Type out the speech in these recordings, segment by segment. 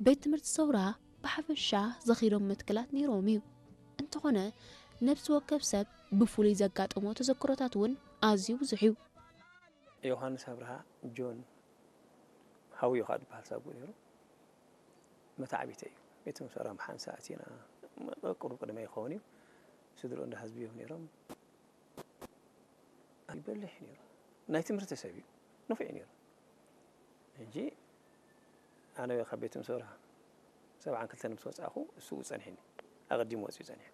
ቤት ትምህርቲ ሰውራ ብሓፈሻ ዘኺሮም መትከላት ነይሮም እዩ። እንተኾነ፣ ነብሲ ወከፍ ሰብ ብፍሉይ ዘጋጠሞ ተዘክሮታት እውን ኣዝዩ ብዙሕ እዩ። ዮሃንስ ኣብርሃ፣ ጆን፣ ሃውዮ ከዓ ዝበሃል ሳጉኡ ነይሩ። መታዕቢተ እዩ። ቤት ትምህርቲ ሰውራ ብሓንሳእ ኣቲና፣ ቁሩብ ቅድመ ይኸውን እዩ። ስድርኡ እንዳ ህዝቢ እዮም ነይሮም። ይበልሕ ነይሩ። ናይ ትምህርቲ ሰብ እዩ። ንፉዕ እዩ ነይሩ። ሕጂ ኣነ ካብ ቤት ትምህርቲ ሰውራ ሰብዓን ክልተን ምስ ወፃእኹ እሱ ጸኒሕኒ። ኣቐዲሙ ወፂኡ ጸኒሑ።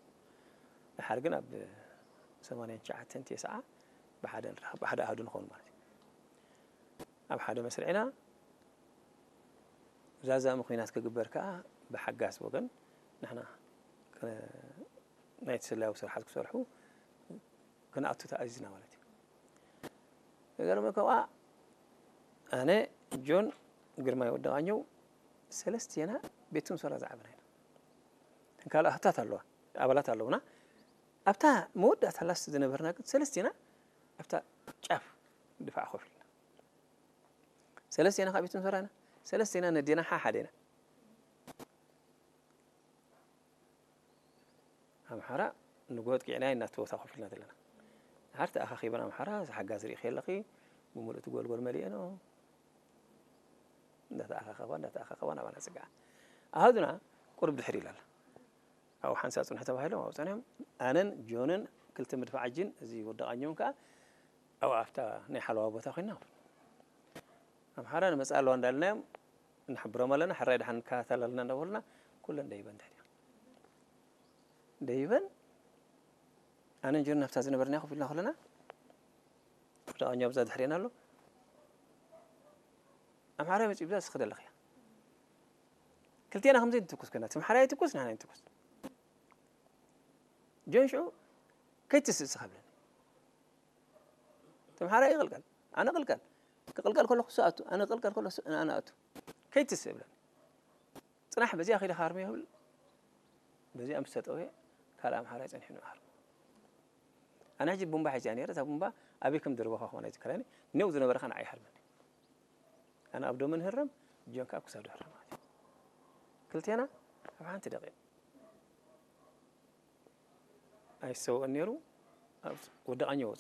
ድሓር ግን ኣብ ሰማንያን ትሽዓተን ተስዓ ብሓደ ንራኸብ፣ ብሓደ ኣሃዱ ንኸውን ማለት እዩ። ኣብ ሓደ መስርዕና ዛዛሚ ኲናት ክግበር ከዓ ብሓጋዝ ወገን ንሕና ከ-፣ ናይቲ ስለያዊ ስራሓት ክሰርሑ ክንኣቱ ተኣዚዝና ማለት እዩ። ዝገርመካ ከኣ ኣነ፣ ጆን፣ ግርማይ ወዲ ቃኘው ሰለስቴና ቤት ትምህርቲ ሰውራ ዝዓበና ኢና። እተን ካልእ ኣህታት ኣለዋ፣ ኣባላት ኣለውና። ኣብታ መወዳእታ ላስት ዝነበርና ግን ሰለስቴና ኣብታ ጫፍ ድፋዕ ኮፍ ኢልና። ሰለስቴና ካብ ቤት ትምህርቲ ሰውራ ኢና። ሰለስቴና ነዴና ሓሓደ ኢና። ኣምሓራ ንጎ ኣጥቂዕና ኢና ኣብቲ ቦታ ኮፍ ኢልና ዘለና። ድሓር ተኣኻኺበን ኣምሓራ፣ እዚ ሓጋዝ ርኢኺ ኣለኺ፣ ብምሉእ እቲ ጎልጎል መሊኤንኦ። እንዳተኣኻኸባ፣ እንዳተኣኻኸባ ናባና ጽግዓ። ኣሃዱና ቁሩብ ድሕር ኢላ ኣላ። ኣብኡ ሓንሳእ ጽንሑ ተባሂሎም ኣብኡ ጸኒሖም። ኣነን ጆንን ክልተ መድፍዓጂን እዚ ወዲ ቃኘውን ከኣ ኣብኡ ኣብታ ናይ ሓለዋ ቦታ ኮይንና። ኣምሓራ ንመጽኣ ኣለዋ እንዳልናዮም ንሕብሮም ኣለና፣ ሕራይ ደሓን ንከታተል ኣለና እንዳበሉና፣ ኩለን ደይበን ድሕሪኦም። ደይበን፣ ኣነን ጆን ናብታ ዝነበርና ኮፍ ኢልና ከለና፣ ወዲ ቃኘው ኣብዛ ድሕሬና ኣሎ። ኣምሓራይ መጺኡ ብዛ ዝኸደለኽያ። ክልቴና ከምዚ ንትኩስ ኮይና፣ እቲ ኣምሓራይ ይትኩስ፣ ንሕና ንትኩስ። ጆን ሽዑ፣ "ከይትስእ እስኻ" ብለኒ። እቲ ኣምሓራይ ይቕልቀል፣ ኣነ እቕልቀል። ክቕልቀል ከለኹ እሱ ኣቱ፣ ኣነ ክቕልቀል ከለኹ እሱ፣ ኣነ ኣቱ። "ከይትስእ" ብለኒ። "ጽናሕ፣ በዚኣ ከይደ ክሃርሞ" ይብል። በዚኣ ምስ ተጠውየ፣ ካልእ ኣምሓራይ ጸኒሑ ንሃርሞ። ኣነ ሕጂ ቡምባ ሒዘ እየ ነይረ። እታ ቡምባ ኣበይ ከም ዝደርበኻ ክኾን ኣይዝከረኒ። ኔው ዝነበረ ከኣ ንዓይ ይሃርመኒ። ኣነ ኣብ ዶመ ንህረም፣ ጆን ከኣ ኣብ ክሳዱ ይህረም ማለት እዩ። ክልቴና ኣብ ሓንቲ ደቂቕ። ኣይሰውእን ነይሩ። ኣብ ወዲ ቃኘው ወጻ